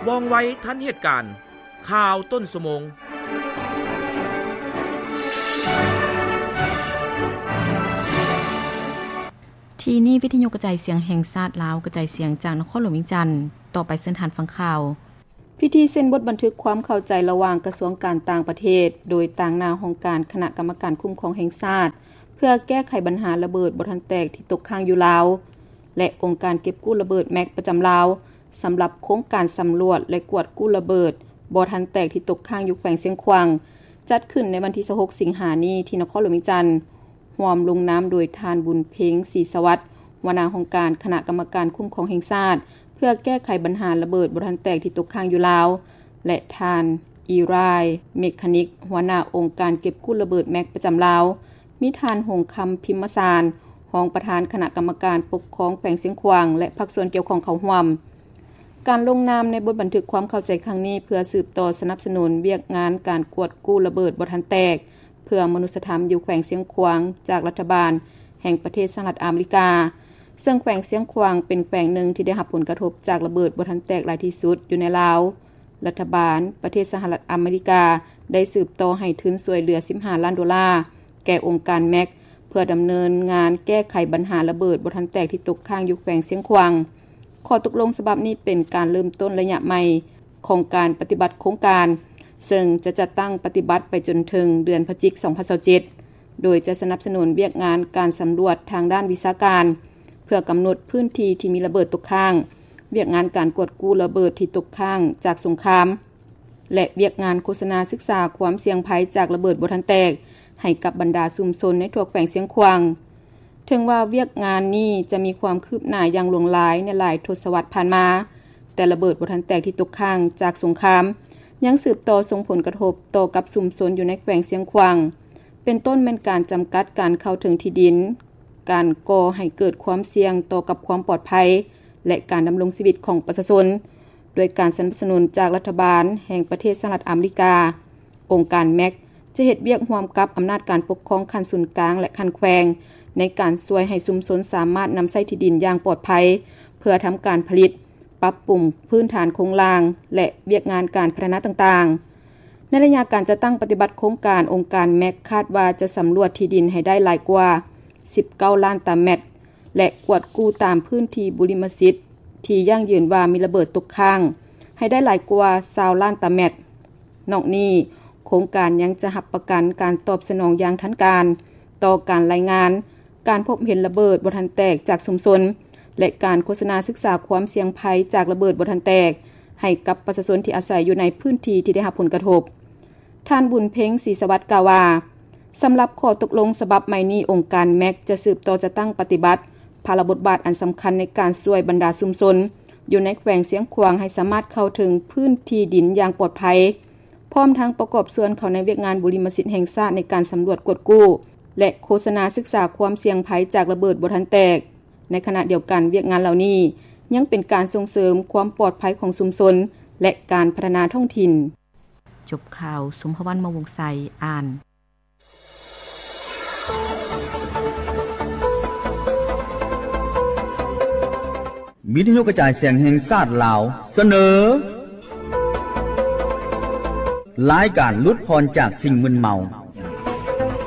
ວ່ອງໄວທັນເຫດການ. ຂ່າວຕົ້ນຊົ່ວໂມງ. ທີ່ນີ້ ວິທະຍຸກະຈາຍສຽງແຫ່ງຊາດລາວ ກະຈາຍສຽງຈາກນະຄອນຫຼວງວຽງຈັນ. ຕໍ່ໄປເຊີນທ່ານຟັງຂ່າວ. ພິທີເຊັນບົດບັນທຶກຄວາມເຂົ້າໃຈລະຫວ່າງກະຊວງການຕ່າງປະເທດ ໂດຍຕາງໜ້າຫ້ອງການຄະນະກຳມະການຄຸ້ມຄອງແຫ່ງຊາດ ເພື່ອແກ້ໄຂບັນຫາລະເບີດບໍ່ທັນແຕກທີ່ຕົກຄ້າງຢູ່ລາວ ແລະ ອົງການເກັບກູ້ລະເບີດແມັກປະຈຳລາວ ສຳລັບໂຄງການສຳຫຼວດ ແລະ ກວດກູ້ລະເບີດບໍ່ທັນແຕກທີ່ຕົກຄ້າງຢູ່ແຂວງຊຽງຂວາງ ຈັດຂຶ້ນໃນວັນທີຊາວຫົກ ສິງຫານີ້ ທີ່ນະຄອນຫຼວງວຽງຈັນ, ຮ່ວມລົງນາມໂດຍທ່ານ ບຸນເພັງ ສີສະຫວັດ ຫົວໜ້າຫ້ອງການຄະນະກຳມະການຄຸ້ມຄອງແຫ່ງຊາດ ເພື່ອແກ້ໄຂບັນຫາລະເບີດບໍ່ທັນແຕກທີ່ຕົກຄ້າງຢູ່ລາວ ແລະ ທ່ານ ອີຣາຍ ເມກຄານິກ ຫົວໜ້າອົງການເກັບກູ້ລະເບີດແມັກປະຈຳລາວ, ມີທ່ານ ຫົງຄຳ ພິມມະສານ ຮອງປະທານຄະນະກຳມະການປົກຄອງແຂວງຊຽງຂວາງ ແລະ ພາກສ່ວນກ່ຽວຂ້ອງເຂົ້າຮ່ວມ. ການລົງນາມໃນບົດບັນທຶກຄວາມເຂົ້າໃຈຄັ້ງນີ້ ເພື່ອສືບຕໍ່ສະໜັບສະໜູນວຽກງານການກວດກູ້ລະເບີດບໍ່ທັນແຕກ ເພື່ອມະນຸດສະທຳຢູ່ແຂວງຊຽງຂວາງ ຈາກລັດຖະບານແຫ່ງປະເທດສະຫະລັດອາເມລິກາ, ເຊິ່ງແຂວງຊຽງຂວາງເປັນແຂວງໜຶ່ງທີ່ໄດ້ຮັບຜົນກະທົບຈາກລະເບີດບໍ່ທັນແຕກຫຼາຍທີ່ສຸດຢູ່ໃນລາວ. ລັດຖະບານປະເທດສະຫະລັດອາເມລິກາໄດ້ສືບຕໍ່ໃຫ້ທຶນຊ່ວຍເຫຼືອສິບຫ້າລ້ານໂດລາ ແກ່ອົງການແມັກ ເພື່ອດຳເນີນງານແກ້ໄຂບັນຫາລະເບີດບໍ່ທັນແຕກທີ່ຕົກຄ້າງຢູ່ແຂວງຊຽງຂວາງ. ຂໍ້ຕົກລົງສະບັບນີ້ເປັນການເລີ່ມຕົ້ນໄລຍະໃໝ່ຂອງການປະຕິບັດໂຄງການ, ເຊິ່ງຈະຈັດຕັ້ງປະຕິບັດໄປຈົນເຖິງເດືອນພະຈິກ ສອງພັນຊາວເຈັດ ໂດຍຈະສະໜັບສະໜູນວຽກງານການສຳຫຼວດທາງດ້ານວິຊາການ ເພື່ອກຳນົດພື້ນທີ່ທີ່ມີລະເບີດຕົກຄ້າງ, ວຽກງານການກວດກູ້ລະເບີດທີ່ຕົກຄ້າງຈາກສົງຄາມ ແລະ ວຽກງານໂຄສະນາສຶກສາຄວາມສ່ຽງໄພຈາກລະເບີດບໍ່ທັນແຕກ ໃຫ້ກັບບັນດາຊຸມຊົນໃນທົ່ວແຂວງຊຽງຂວາງ. ເຖິງວ່າວຽກງານນີ້ຈະມີຄວາມຄືບໜ້າຢ່າງຫຼວງຫຼາຍໃນຫຼາຍທົດສະວັດຜ່ານມາ, ແຕ່ລະເບີດບໍ່ທັນແຕກທີ່ຕົກຄ້າງຈາກສົງຄາມ ຍັງສືບຕໍ່ສົ່ງຜົນກະທົບຕໍ່ກັບຊຸມຊົນຢູ່ໃນແຂວງຊຽງຂວາງ, ເປັນຕົ້ນແມ່ນການຈຳກັດການເຂົ້າເຖິງທີ່ດິນ, ການກໍ່ໃຫ້ເກີດຄວາມສ່ຽງຕໍ່ກັບຄວາມປອດໄພ ແລະ ການດຳລົງຊີວິດຂອງປະຊາຊົນ. ດ້ວຍການສະໜັບສະໜູນຈາກລັດຖະບານແຫ່ງປະເທດສະຫະລັດອາເມລິກາ, ອົງການແມັກຈະເຮັດວຽກຮ່ວມກັບອຳນາດການປົກຄອງຂັ້ນສູນກາງ ແລະ ຂັ້ນແຂວງ ໃນການຊ່ວຍໃຫ້ຊຸມຊົນສາມາດນຳໃຊ້ທີ່ດິນຢ່າງປອດໄພ ເພື່ອທຳການຜະລິດ, ປັບປຸງພື້ນຖານໂຄງລ່າງ ແລະ ວຽກງານການພັດທະນາຕ່າງໆ. ໃນໄລຍະການຈັດຕັ້ງປະຕິບັດໂຄງການ, ອົງການແມັກຄາດວ່າຈະສຳຫຼວດທີ່ດິນໃຫ້ໄດ້ຫຼາຍກວ່າສິບເກົ້າລ້ານຕາແມັດ ແລະ ກວດກູ້ຕາມພື້ນທີ່ບຸລິມະສິດທີ່ຢັ້ງຢືນວ່າມີລະເບີດຕົກຄ້າງໃຫ້ໄດ້ຫຼາຍກວ່າຊາວລ້ານຕາແມັດ. ນອກນີ້, ໂຄງການຍັງຈະຮັບປະກັນການຕອບສະໜອງຢ່າງທັນການຕໍ່ການລາຍງານການພົບເຫັນລະເບີດບໍ່ທັນແຕກຈາກຊຸມຊົນ ແລະ ການໂຄສະນາສຶກສາຄວາມສ່ຽງໄພຈາກລະເບີດບໍ່ທັນແຕກໃຫ້ກັບປະຊາຊົນທີ່ອາໄສຢູ່ໃນພື້ນທີ່ທີ່ໄດ້ຮັບຜົນກະທົບ. ທ່ານ ບຸນເພັງ ສີສະຫວັດ ກ່າວວ່າ, ສຳລັບຂໍ້ຕົກລົງສະບັບໃໝ່ນີ້, ອົງການແມັກຈະສືບຕໍ່ຈັດຕັ້ງປະຕິບັດພາລະບົດບາດອັນສຳຄັນໃນການຊ່ວຍບັນດາຊຸມຊົນຢູ່ໃນແຂວງຊຽງຂວາງໃຫ້ສາມາດເຂົ້າເຖິງພື້ນທີ່ດິນຢ່າງປອດໄພ, ພ້ອມທັງປະກອບສ່ວນເຂົ້າໃນວຽກງານບຸລິມະສິດແຫ່ງຊາດໃນການສຳຫຼວດກວດກູ້ ແລະ ໂຄສະນາສຶກສາຄວາມສ່ຽງໄພຈາກລະເບີດບໍ່ທັນແຕກ. ໃນຂະນະດຽວກັນ, ວຽກງານເຫຼົ່ານີ້ຍັງເປັນການສົ່ງເສີມຄວາມປອດໄພຂອງຊຸມຊົນ ແລະ ການພັດທະນາທ້ອງຖິ່ນ. ຈົບຂ່າວ, ສົມພະວັນ ມະວົງໄຊ ອ່ານ. ວິທະຍຸກະຈາຍສຽງແຫ່ງຊາດລາວ ສະເໜີ ລາຍການຫຼຸດຜ່ອນຈາກສິ່ງມຶນເມົາ.